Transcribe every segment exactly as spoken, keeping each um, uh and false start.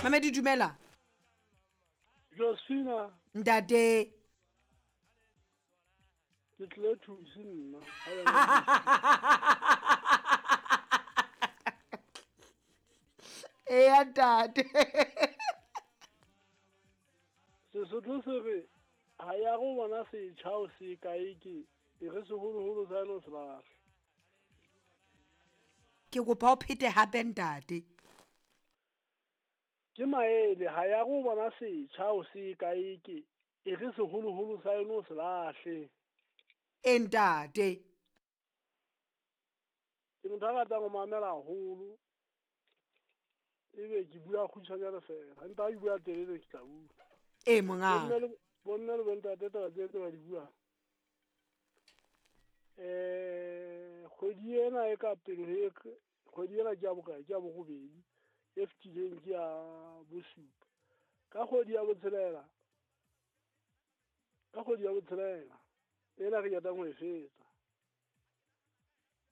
Mamedi, dumela. Josephina. Ntate. Ke tlile thusi nna. Eya ntate. Sesotho se re ha ya go bona setjha o se kae ke e re seholoholo sa eno se lahle. Ke kopa o phete hape, ntate. Ke maele, ha ya go bona setjha o se kae ke e re seholoholo sa eno se lahle. E ntate. Ke motho a ratang ho mamela haholo. Ebe ke bua kgutshwanyane fela. Empa ha ke bua telele ke tla bua. E mongaka. Bomme le bontate taba tse tse ba di buang. Eh kgwedi ena e ka pele e kgwedi ena ke ya bokae, ke ya borobedi, e fetileng ke ya bosupa. Ka kgwedi ya botshelela, ka kgwedi ya botshelela ena re qetang ho e fetsa,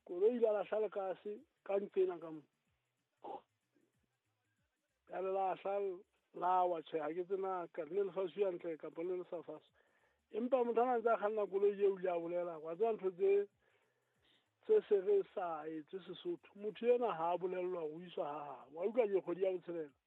koloi ile ya lahla lekase ka nqena ka mo. Ya le lahla la wa, tjhe, ha ke tsena ka le le faswe hantle kapa le le sa faswe. Empa motho ana ntse a kganna koloi eo o ile a bolela, wa tseba ntho tse tse se re sa etse Sesotho. Motho ena ha a bolellwa ho iswa ha habo. Wa utlwa ke kgwedi ya botshelela.